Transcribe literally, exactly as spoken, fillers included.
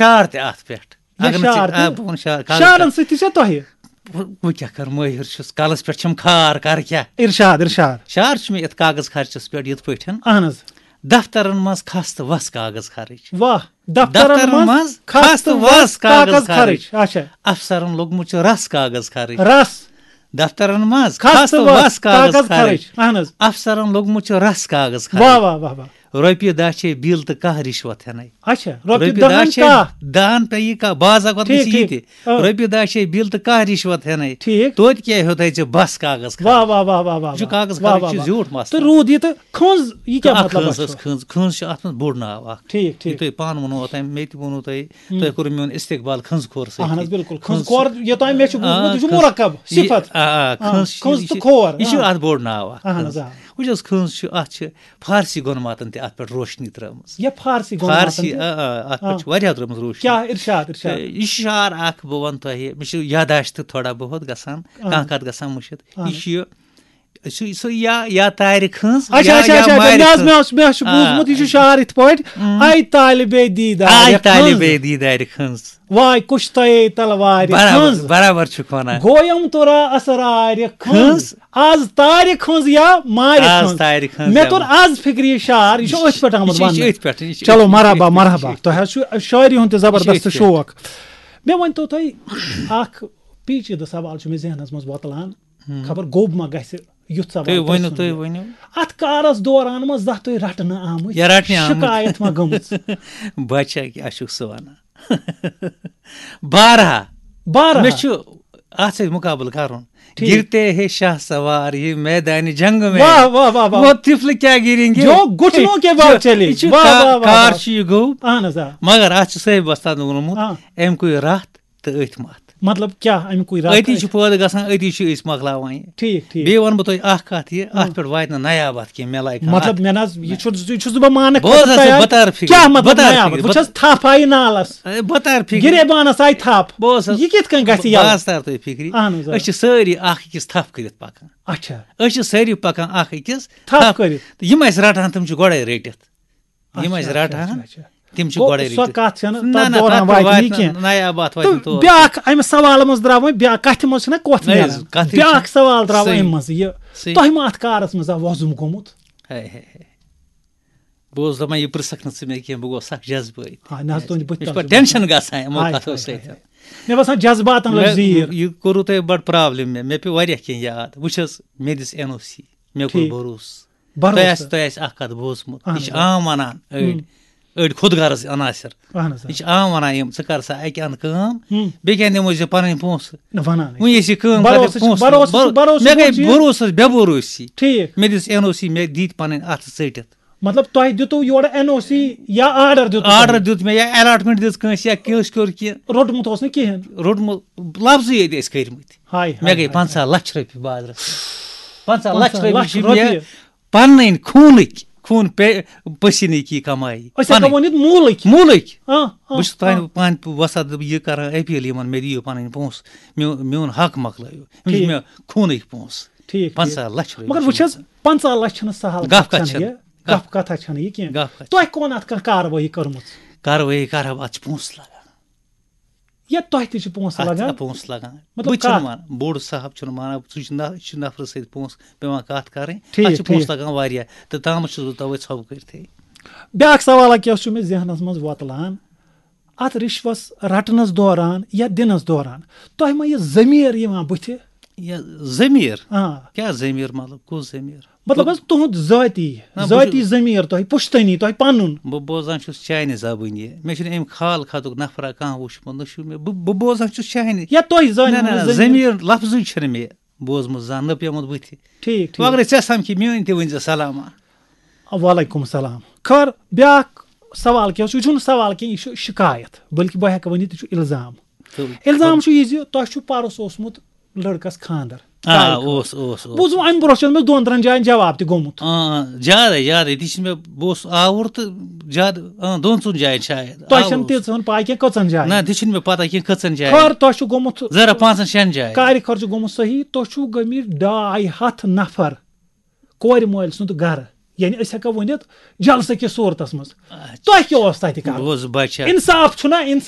شعر تہِ اَتھ پٮ۪ٹھ۔ یہِ اگر نہٕ ژےٚ- شعر تہِ۔ آ، بہٕ وَنہٕ شعر، کاغذ شعرن کر- سۭتۍ تہِ چھا تۄہہِ؟ بہٕ بہٕ کیٛاہ کَرٕ، مٲہِر چھُس، کَلَس پٮ۪ٹھ چھَم خار، کَرٕ کیٛاہ؟ ارشاد، ارشاد۔ شعر چھُ مےٚ یَتھ کاغذ خرچَس پٮ۪ٹھ یِتھ پٲٹھۍ۔ اہن حظ۔ دفترن منٛز کھس تہٕ وس کاغذ خرٕچ۔ واہ۔ دفترن دفترن منٛز منٛز کھس کھس تہٕ تہٕ وس وس کاغذ کاغذ خرٕچ۔ خرٕچ۔ اچھا۔ افسرن لوٚگمُت چھُ رس کاغذ خرٕچ۔ رس۔ دفترن منٛز کھس کھس تہٕ تہٕ وس وس کاغذ کاغذ خرٕچ۔ خرٕچ۔ اہن حظ۔ واہ واہ واہ واہ۔ رۄپیہِ دہ چھے بِل تہٕ کانٛہہ رِشوت ہٮ۪نَے۔ اچھا۔ رۄپیہِ رۄپیہِ دہ دہ ہن چھے کانٛہہ۔ دہن پہ یہِ کا بعض اوقات ٹھیٖک، گژھِ یہِ ٹھیٖک۔ تہِ۔ آ۔ رۄپیہِ دہ چھے بِل تہٕ کانٛہہ رِشوت ہٮ۪نَے۔ ٹھیٖک۔ توتہِ کیٛاہ ہیوٚتَے ژےٚ بس کاغذ خرٕچ؟ واہ واہ واہ واہ واہ واہ۔ یہِ چھُ کاغذ واہ خرٕچ واہ چھُ واہ۔ زیوٗٹھ مسلہٕ۔ تہٕ روٗد یہِ تہٕ کھٔنٛز، یہِ کیٛاہ اکھ مطلب کھٔنٛز چھُ؟ ٲس، کھٔنٛز، کھٔنٛز چھِ اَتھ منٛز بوٚڑ ناو اکھ۔ ٹھیٖک، ٹھیٖک۔ یہِ تۄہہِ پانہٕ ووٚنوُ اوٚتام، مےٚ تہِ ووٚنوُ تۄہہِ، تۄہہِ کوٚروُ میون استقبال کھٔنٛز کھور سۭتۍ۔ اہن حظ، بالکل۔ کھٔنٛز کھٔنٛز کھور یوٚتام مےٚ چھُ بوٗزمُت، آ، یہِ چھُ کھٔنٛز۔ مرکب، یہِ- صفت۔ آ، آ، آ، کھٔنٛز چھِ، کھٔنٛز یہِ تہٕ چھِ، کھور، یہِ چھُ آ۔ اَتھ بوٚڑ ناو اکھ، اہن کھٔنٛز۔ حظ، آ۔ وٕچھ حظ، کھٔنٛز چھِ، اَتھ چھِ فارسی گۄنماتن تہِ اَتھ پٮ۪ٹھ روشنی ترٲومٕژ۔ یہِ فارسی گۄنماتن فارسی، تہِ؟ آ، آ، اَتھ پٮ۪ٹھ چھُ واریاہ ترٲومٕژ روشنی۔ کیٛاہ ارشاد، ارشاد؟ تہٕ یہِ چھُ شعر اکھ، بہٕ وَنہٕ تۄہہِ، مےٚ چھُ یاداشت تھوڑا بہت گژھان، اہن۔ کانٛہہ کَتھ گژھان مٔشِتھ۔ اہن۔ یہِ چھُ یہِ، سُہ، سُہ یا، یا تارِ کھٔنٛز، اچھا، یا، اچھا، یا اچھا، اچھا، مارِ مےٚ حظ، کھٔنٛز۔ مےٚ حظ، مےٚ حظ چھُ آ۔ بوٗزمُت، یہِ چھُ شعر یِتھ پٲٹھۍ، اۭں۔ آے طالبے دیٖدار آے کھٔنٛز۔ طالبے دیٖدارِ کھٔنٛز۔ واے کُش تۄہے تلوارِ برابر، کھٔنٛز۔ برابر چھُکھ وَنان۔ گویم تورا اسرارِ کھٔنٛز۔ کھٔنٛز۔ آز تارِ کھٔنٛز یا مارِ آز کھٔنٛز۔ تارِ کھٔنٛز مےٚ یا توٚر مارِ۔ آز فِکرِ یہِ شعر، یہِ چھُ أتھۍ پٮ۪ٹھ آمُت یہِ چھُ، یہِ چھُ وننہٕ۔ أتھۍ پٮ۪ٹھ، یہِ چھُ چلو، أتھۍ پٮ۪ٹھ، مرحبا، یہِ چھُ، مرحبا۔ یہِ چھُ۔ تۄہہِ حظ چھُ شٲعری ہُنٛد تہِ زبردست أتھۍ پٮ۪ٹھ۔ شوق۔ مےٚ ؤنۍ تو تُہۍ، اکھ پیچیدٕ سوال چھُ مےٚ ذہنس منٛز وۄتلان، خبر گوٚب ما گژھِ یُتھ سوال تُہۍ تۄہہِ ؤنِو، سُنٛد تُہۍ یہِ۔ ؤنِو۔ اتھ کارس دوران ما زانٛہہ تُہۍ رٹنہٕ آمٕتۍ؟ یا رٹنہٕ آمٕتۍ۔ شکایت ما گٔمٕژ؟ بچا کیٛاہ چھُکھ ژٕ وَنان؟ بارہا۔ بارہا۔ مےٚ چھُ اَتھ سۭتۍ مُقابلہٕ کَرُن۔ ٹھیٖک۔ گرتے ہے شاہ سوار، یہ میدان جنگ میں۔ واہ، واہ، واہ، واہ۔ وہ طفل کیا گریں گے؟ جو گھٹنوں کے بل جو-، چلے۔ یہِ چھُ واہ، کا-، واہ، واہ، کار واہ۔ چھُ یہِ گوٚو۔ اہن حظ، آ۔ مگر اَتھ چھُ صٲحِب وۄستاد ووٚنمُت، آ۔ "اَمہِ کُے رَتھ تہٕ أتھۍ مَتھ۔" مطلب کیٛاہ اَمہِ کُے رَتھ أتی آسہِ؟ چھُ پٲدٕ گژھان، أتی چھُ أسۍ مۄکلاوان یہِ۔ ٹھیٖک، ٹھیٖک۔ بیٚیہِ وَنہٕ بہٕ تۄہہِ اَکھ کَتھ یہِ، اَتھ پٮ۪ٹھ واتہِ نہٕ نیاباد کینٛہہ، مےٚ لایق مطلب، کَتھ۔ مےٚ نہ حظ، یہِ چھُس، یہِ چھُس بہٕ ماننہٕ بہٕ حظ خٲطرٕ آسہٕ تیار۔ بہٕ تارٕ فِکرِ، کیٛاہ بہٕ مطلب تارٕ نیاباد؟ فِکرِ، بہٕ بہٕ چھَس تھپھ آیہِ نالَس۔ اے، بہٕ تارٕ فِکرِ۔ گِریبانَس آیہِ تھپھ۔ بہٕ اوسُس یہِ کِتھ کٔنۍ گژھِ بہٕ یَلہٕ؟ حظ تارٕ تۄہہِ فِکرِ۔ اہن حظ، آ۔ أسۍ چھِ سٲری اَکھ أکِس تھپھ کٔرِتھ پَکان۔ اچھا۔ أسۍ چھِ سٲری پَکان اَکھ أکِس تھپھ کٔرِتھ۔ تہٕ یِم اَسہِ رَٹہٕ ہَن، تِم چھِ گۄڈَے رٔٹِتھ۔ یِم اچھا، اَسہِ اچھا، رَٹہٕ ہَن، اچھا، اچھا۔ تِم چھِ گوٚو، گۄڈَے سۄ رٔٹِتھ۔ کَتھ چھَنہٕ نہ، تَتھ نہ، دوران اَتھ پٮ۪ٹھ واتہِ واتہِ نہٕ نہٕ، کینٛہہ۔ نہ، یا بَتھ واتہِ تہٕ نہٕ تور۔ بیٛاکھ اَمہِ سوالہٕ منٛز درٛاو وۄنۍ بیٛاکھ، کَتھِ منٛز چھِنہ کۄتھ نہ، نیران۔ یُس کَتھٕے بیٛاکھ چھِ۔ سوال درٛاو صحیح۔ اَمہِ منٛزٕ یہِ۔ صحیح۔ تۄہہِ ما اَتھ کارَس منٛز آو وۄزُم گوٚمُت؟ ہے، ہے، ہے۔ بہٕ اوسُس دَپان، یہِ پرٛژھکھ نہٕ ژٕ مےٚ کینٛہہ، بہٕ گوٚوس سَکھ جذبٲیی۔ آ، نہ حظ، تُہٕنٛدِ بٔتھِ مےٚ چھُ تَل پَتہٕ چھُ ٹٮ۪نشَن گژھان یِمو ہاے، کَتھو ہاے، سۭتۍ۔ ہاے، ہاے۔ مےٚ باسان، جذباتَن لٔج مےٚ، زیٖر۔ یہِ کوٚروٕ تۄہہِ بَڑٕ پرٛابلِم مےٚ، مےٚ پیوٚو واریاہ کینٛہہ یاد۔ وٕچھ حظ، مےٚ دِژ این او سی، مےٚ کوٚر ٹھیٖک۔ بروسہٕ۔ بروسہٕ۔ تۄہہِ آسہِ، تۄہہِ آسہِ اَکھ کَتھ بوٗزمُت، اَہَن یہِ چھِ حظ۔ عام وَنان أڑۍ، ہُم۔ أڑۍ خود غرض عناصر۔ اَہَن حظ، آ۔ یہِ چھِ عام وَنان یِم، "ژٕ کَر سا اَکہِ اَنٛدٕ کٲم، ہُم۔ بیٚیہِ کَنہِ دِمو ژےٚ پَنٕنۍ پونٛسہٕ۔" نہ، وَنان ہے۔ وٕنہِ ٲسۍ یہِ کٲم کَرٕنۍ، بروسہٕ چھُ، پونٛسہٕ بروسہٕ چھُ، بَرو-، بروسہٕ مےٚ چھُ گٔے پونٛسہٕ یہِ۔ بروسَس بے بروسی۔ ٹھیٖک۔ مےٚ دِژ این او سی، مےٚ دِتۍ پَنٕنۍ اَتھٕ ژٔٹِتھ۔ مطلب، تۄہہِ دیُتوُ یورٕ این او سی یا آرڈر دیُتوُ تۄہہِ؟ آرڈر دیُت مےٚ یا الاٹمنٹ دِژ کٲنٛسہِ یا کٲنٛسہِ کوٚر کینٛہہ۔ روٚٹمُت اوس نہٕ کِہیٖنۍ۔ روٚٹمُت لفظٕے یٲتۍ ٲسۍ کٔرمٕتۍ۔ ہاے، ہاے، مےٚ گٔے ہاے۔ پنٛژاہ لَچھ رۄپیہِ بازرَس۔ پنٛژاہ لَچھ پنٛژاہ رۄپیہِ لَچھ چھِ مےٚ رۄپیہِ۔ پَنٕنۍ خوٗنٕکۍ، خوٗن پے-، پسیٖنٕکی کمٲیی۔ أسۍ ہٮ۪کو پَنٕنۍ۔ ؤنِتھ موٗلٕکۍ۔ موٗلٕکۍ۔ آ، آ، بہٕ چھُس آ۔ تۄہہِ پانہٕ وۄستاد یہِ کران اپیل یِمن، مےٚ دِیِو پَنٕنۍ پونٛسہٕ، میون، میون حق مۄکلٲیِو۔ یِم چھِ ٹھیٖک۔ مےٚ خوٗنٕکۍ پونٛسہٕ۔ ٹھیٖک، پنٛژاہ ٹھیٖک۔ لَچھ رۄپیہِ مگر چھِ وٕچھ حظ، مےٚ۔ پنٛژاہ لَچھ چھِنہٕ سہل گَف کَتھ، کَتھ چھَنہٕ چھَنہٕ؟ یہِ؟ گَف۔ گَف کَتھ چھَنہٕ یہِ کینٛہہ۔ گَف کَتھ۔ تۄہہِ کون اَتھ کانٛہہ کاروٲیی کٔرمٕژ؟ کاروٲیی کَرٕ ہا بہٕ، اَتھ چھِ پونٛسہٕ لَگان۔ یا تۄہہِ تہِ چھِ پونٛسہٕ اَتھ لَگان؟ چھِ پونٛسہٕ لَگان۔ مطلب، بہٕ چھُس نہٕ کَتھ؟ مانان، بوٚڑ صاحب چھُنہٕ مانان، سُہ چھُ نہ-، یہِ چھُ نفرٕ سۭتۍ پونٛسہٕ پٮ۪وان کَتھ کَرٕنۍ۔ ٹھیٖک، اَتھ چھِ پونٛسہٕ ٹھیٖک۔ لَگان واریاہ، تہٕ تامَتھ چھُس بہٕ تَوَے ژھۄپہٕ کٔرِتھٕے۔ بیٛاکھ سوالہ کیٛاہ چھُ مےٚ ذہنَس منٛز وۄتلان؟ اَتھ رِشوَس رَٹنَس دوران یا دِنَس دوران تۄہہِ ما یہِ ضمیٖر یِوان بٕتھِ؟ یہِ ضمیٖر؟ آ۔ کیٛاہ ضمیٖر؟ مطلب، کُس ضمیٖر؟ مطلب حظ، تُہُنٛد ذٲتی، نہ، بہٕ ذٲتی چھُس ضمیٖر تۄہہِ، پُشتٲنی تۄہہِ پَنُن۔ بہٕ بوزان چھُس چانہِ زبٲنی۔ مےٚ چھُنہٕ اَمہِ خال خطُک نفرا کانٛہہ وُچھمُت، نہ چھُ مےٚ، بہٕ، بہٕ بوزان چھُس چانہِ۔ یا تۄہہِ زٲنِو نہ، نہ، نہٕ نہ، ضمیٖر۔ ضمیٖر لفظٕے چھُنہٕ مےٚ بوزمُت زانٛہہ، نہ پیومُت بٕتھِ۔ ٹھیٖک، ٹھیٖک۔ وۄنۍ اگر ژےٚ سَمکھِ میٲنۍ تہِ ؤنۍ زِ سلامہ۔ وعلیکم السلام۔ خٲر، بیٛاکھ سوال کیٛاہ اوس؟ یہِ چھُنہٕ سوال کینٛہہ، یہِ چھُ شِکایت، بلکہِ بہٕ ہٮ۪کہٕ ؤنِتھ، یہِ چھُ الزام۔ تہٕ الزام چھُ یہِ زِ تۄہہِ چھُو پَرُس اوسمُت لٔڑکَس خانٛدر۔ آ، کارِ خٲطرٕ۔ اوس، اوس، اوس۔ بوٗزُم اَمہِ برونٛہہ چھُنہٕ مےٚ دۄن ترٛٮ۪ن جایَن جواب تہِ گوٚمُت۔ آ، آ، زیادَے، زیادَے۔ تہِ چھِ مےٚ، بہٕ اوسُس آوُر تہٕ زیادٕ، آ، دۄن ژۄن جایَن شاید۔ تۄہہِ آوُر چھَنہٕ اوسُس۔ تیٖژہن پَے کینٛہہ کٔژَن جایَن۔ نہ، تہِ چھِنہٕ مےٚ پَتہ کینٛہہ کٔژَن جایَن۔ خٲر، تۄہہِ چھُ گوٚمُت ذرا پانٛژَن شٮ۪ن جایَن۔ کارِ خرچہٕ گوٚمُت صحیح، تُہۍ چھِو گٔمٕتۍ ڈاے ہَتھ نفر کورِ مٲلۍ سُنٛد گرٕ۔ یعنی أسۍ ہٮ۪کو ؤنِتھ جلسہٕ کِس صوٗرتس منٛز۔ تۄہہِ کیٛاہ اوس تتہِ کرُن؟ بوز بچہ۔ انصاف چھُنہ؟ انصاف